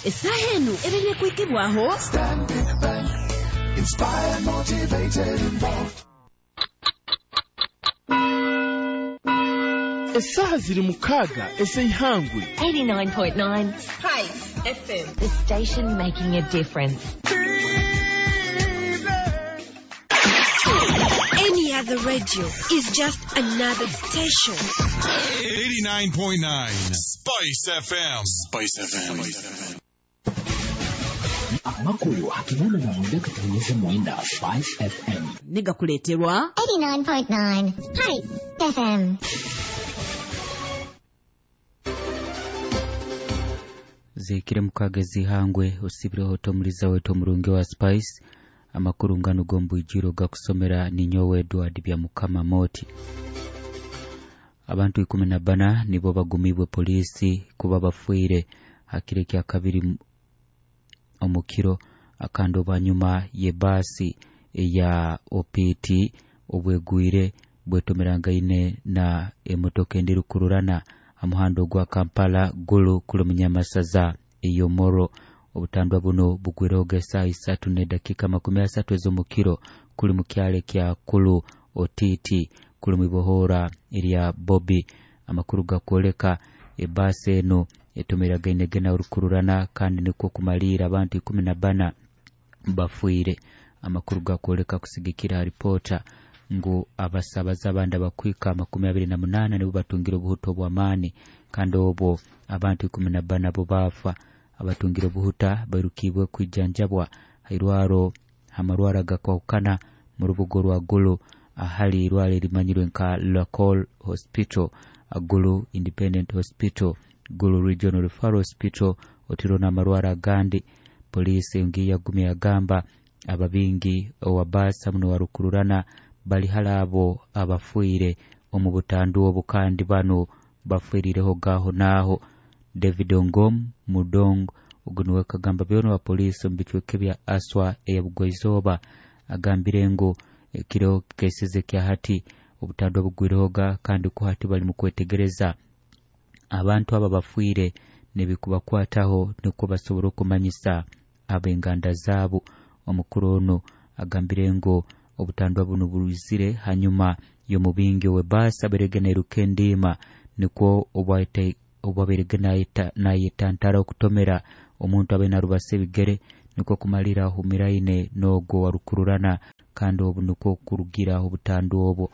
Essaaha eno ebeire kwikibwaho Stanbic Bank. Inspired, motivated, involved. Essaaha ziri 6 ez'eihangwe. 89.9 Spice FM. The station making a difference. Any other radio is just another station. 89.9 Spice FM. Spice FM. Amakuru 89.9 Spice FM. Negakuleeterwa 89.9 Spice FM. Zikire 6 zihangwe osibireho tomuliza wetu omurungi wa Spice. Amakuru ngano g'ombwijiro gakusomera ninyowe Edward bya Mukama Moti. Abantu 14 nibo bagumibwe polisi kuba bafuire hakire kya kabiri omukiro akando banyuma ye basi ya OPT obwegwire bwetomerangaine na emotoka endirukururana amuhando gwa Kampala Gulu kuli munyamasaza eyomoro. Obutandwa buno bugwireho saa 3:30 ez'omukiro kuli mukyale kya Kulu Otiti kuli mwibohora erya Bobby. Amakuru gakwoleka ebasi eno etomeragaine gena urukururana kandi nikwo kumalira abantu 14 bafuire. Amakuru gakwoleka kusigikira ripota ngu abasabaza abandi abakwika 28 nibo batungira obuhuta obw'amaani kandi obwo abantu 14 bo bafa. Abatungira obuhuta bairukibwe kwijanjabwa hairwaro hamarwara gakwahukana mu rubugo rwa Gulu ahali irwaro erimanyirwe nka Lacol Hospital, Gulu Independent Hospital, Gulu Regional Referral Hospital otiro n'amarwara agandi. Polisi ngiye yagumye yagamba ababingi owabasa muno warukururana bali halabo abafuire omu butandu obu kandi bano bafuirireho gaho naho. David Ongom Mudong ogunuwe kagamba byono wa polisi omu bicweka bya Aswa eya Bugwaizoba agambire ngu ekiro kesize kya hati obutandwa bugwirehoga kandi ku hati bali mu kwetegereza abantu aba bafuire nebikubakwataho nikwo basobora okumanyisa ab'enganda zaabo. Omukuru ono agambire ngu obutandwa buno buruzire hanyuma y'omubingi w'ebaasi aberege nairuka endiima nikwo obwaberege nayetantara okutomera omuntu abe narubasa ebigere nikwo kumalira ahumiraine n'ogwo warukururana kandi obu nikwo kurugira obutandwa obwo.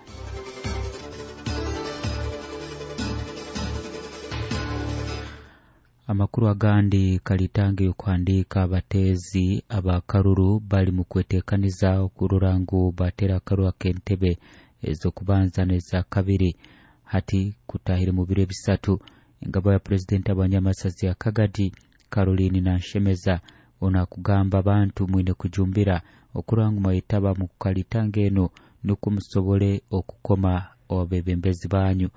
Amakuru agandi kalitange yokuhandika abateezi abakaruru bali mu kwetekaniza okurora ngu batera akaruru ak'entebe ez'okubanza n'eza kabiri hati kutahire mu biro 3. Engabo ya pulezidenti abanyamasazi ya Kagadi Caroline Nanshemeza ono akugamba abantu mwine kujumbira okurora ngu mwayetaba mu kukalitanga eno nukwo musobole okukoma abebembezi banyu.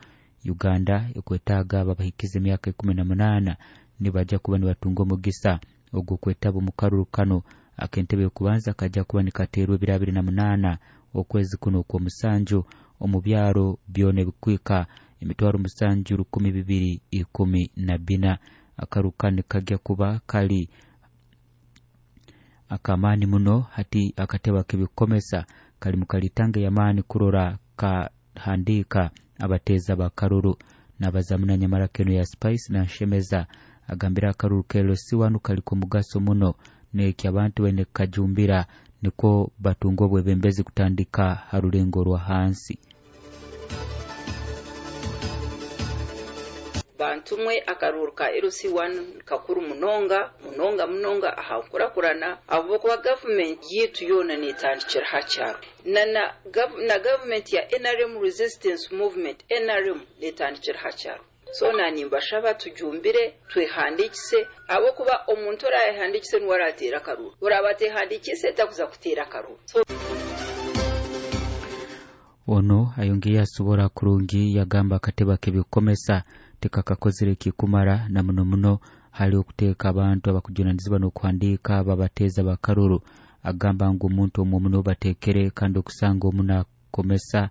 Uganda ekwetaaga ababahikiza emyaka 18 nibajja kuba nibatunga omugisa ogw'okwetaba omu karuru kano ak'entebe y'okubanza kajja kuba nikateerwa ebiro 28 okwezi kuno okw'omusanju omu byaro byona ebikwika 7,214. Akaru kano kajja kuba kali akamaani muno hati akatebe ak'ebikomesa kali mu kalitanga y'amaani kurora kahandika abateeza bakaruru. N'abazamuna nyamara keno ya Spice Nanshemeza agambira akaruru kelo si wanu kaliko mugaso muno neki abantu baine kajumbira nikwo batunga obwebembezi kutandika harulengo rwa hansi. Bantumwe akaruru ka LC1 kakuru munonga munonga munonga aha nkurakurana abo kuba government yitu yona netandikira hakyaro na government ya NRM Resistance Movement NRM netandikira hakyaro. So nanimbashaba tujumbire twehandikise abo kuba omuntu orahandikise niwe aratera akaruru orabatehandikise takuza kutera akaruru. So ono ayongeye asobora kurungi yagamba akatebe k'ebikomesa tekakakozere kikumara na muno muno hali okuteeka abantu abakujunanizibwa n'okuhandiika babateeza bakaruru. Agamba ngu omuntu omwe muno bateekere kandi okusanga omu nakomesa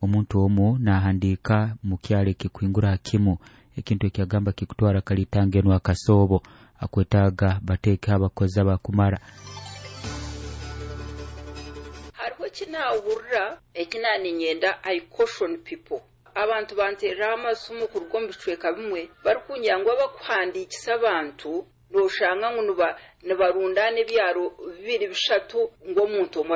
omuntu omu nahandiika mu kyalo ekikuhingura hakimu ekintu ekyagamba kikutwara kalitanga eno akasoobo. Akwetaaga bateekeho abakozi abakumara. Hariho ekinahurira ekinaninyenda, I caution people. Abantu bantereraho amasimu kuruga omu bicweka bimwe barikungira ngu abakuhandiikisa abantu noshanga ngu nibarundana ebyaro 2 3 ngu omuntu omwe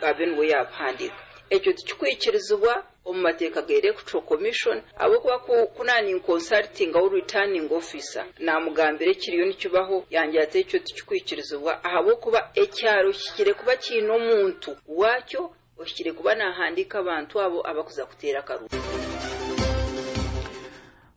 abe niwe yabihandiika. Ekyo tikikwikirizibwa omu mateeka ga Electoral Commission, ahabw'okuba kunani consulting au returning officer namugambira ekiriyo nikibaho, yangira ati ekyo tikikwikirizibwa ahabw'okuba ekyaro kihikire kuba kiine omuntu waakyo ohikire kuba nahandiika abantu abo abakuza kuteera akaruru.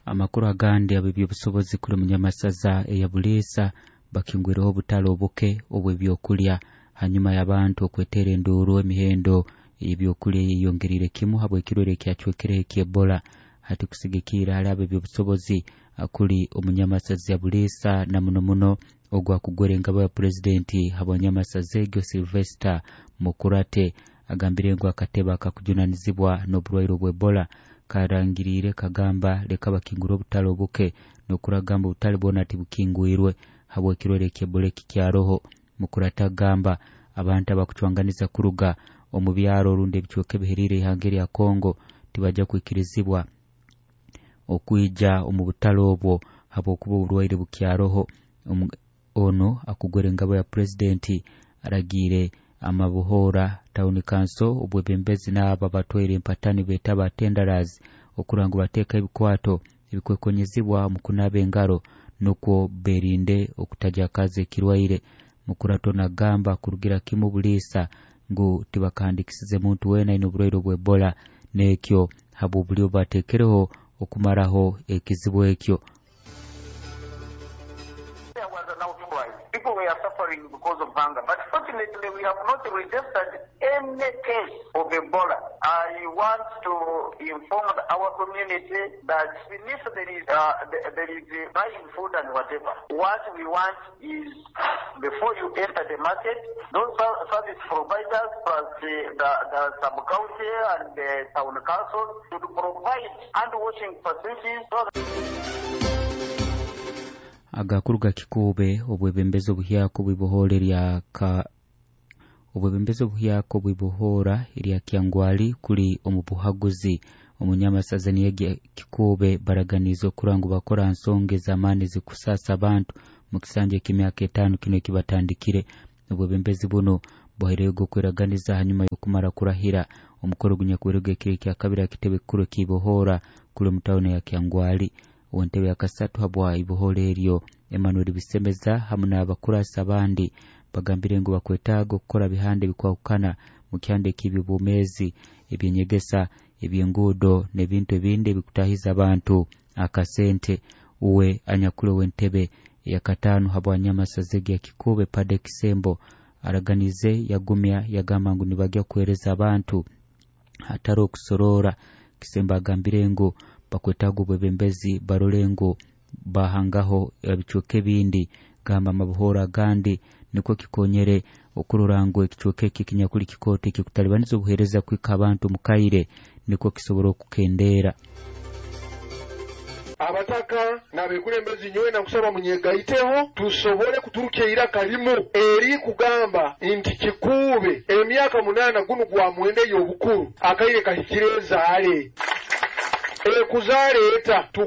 Amakuru agandi ab'ebyobusobozi kuri munyamasaza eya Buliisa bakingwireho obutale obuke obw'ebyokulya hanyuma y'abantu okwetera enduuru emihendo y'ebyokulya yeyongerire kimu habw'ekirwere ekyacwekereho eky'Ebola. Hati kusigikira hali ab'ebyobusobozi kuri omunyamasaza ya Buliisa na muno muno ogwakugwera engabo ya pulezidenti habwanyamasaza egyo Sylvester Mukurate agambire ngu akatebe akakujunanizibwa n'oburwaire obw'Ebola karangirire kagamba leka bakingura obutale obuke n'okuragamba obutale bwona tibukingwirwe habw'ekirwere eky'Ebola ekikyaroho. Mukurate agamba abantu abakucwanganiza kuruga omu byaro orundi ebicweka ebiheriire ihanga erya Kongo tibajja kwikirizibwa okwija omu butale obwo habw'okuba oburwaire bukyaroho. Ono akugwera engabo ya pulezidenti aragiire amabuhora town council obwebembezi n'abo abatwaire empatani beeta abatendarazi okurora ngu bateeka ebikwato ebikwekonyezibwa omu kunaaba engaro nukwo berinde okutajakaza ekirwaire. Mukurato nagamba kurugira kimu Buliisa ngu tibakahandikisize muntu weena aine oburwaire obw'Ebola n'ekyo habw'obulyo bateekereho okumaraho ekizibu ekyo. There was an outcry. People were suffering because of hunger. But fortunately, we have not registered any case of Ebola. I want to inform our community that if there is buying food and whatever, what we want is before you enter the market, those service providers plus the sub-county and the town council should provide hand-washing facilities. So Agakuru ga Kikuube obwebembezi obuhyaka obwibohora obwebembezi obuhyaka obwibohora erya Kyangwali kuli omu buhaguzi. Omunyamasaza niyege Kikuube baraganiza okurora ngu bakora nsonga ez'amaani zikusasa abantu mu kisanja eky'emyaka 5 kino ekibatandikire. Obwebembezi buno buhaireyo okweraganiza hanyuma y'okumara kurahira omukoro gunyakuberego ekiro ekya kabiri akitebe kikuru ekibohora kuli omu tawuni ya Kyangwali. Ow'entebe ya kasatu habwa ibohora eryo Emmanuel Bisemeza hamu n'abakurasi abandi bagambire ngu bakwetaaga okukora bihanda ebikwahukana mu kyanda eky'ebyobwomeezi, ebyenyegesa, ebyenguudo n'ebintu ebindi ebikutahiza abantu akasente. Uwe anyakuli ow'entebe ya katano habwa nyamasaza ya Kikuube Pade Kisembo araganize yagumya yagamba ngu nibajya kuhereza abantu hatari okusorora. Kisembo agambire ngu bakwetaaga obwebembezi barole ngu bahangaho ebicweka ebindi gamba amabuhoro agandi nikwo kikonyere okurora ngu ekicweka eki ekinyakuli kikooto ekikutalibaniza obuheereza kwika abantu mukaire nikwo kisobora okukendeera. Abataka n'abekulembezi nyowe nakusaba munyegaiteho tusobole kuturukya iraka limu eri kugamba nti Kikuube emyaka 8 gunu gwa mwenda ey'obukuru akaire kahikire ezaale ekuzaaleeta.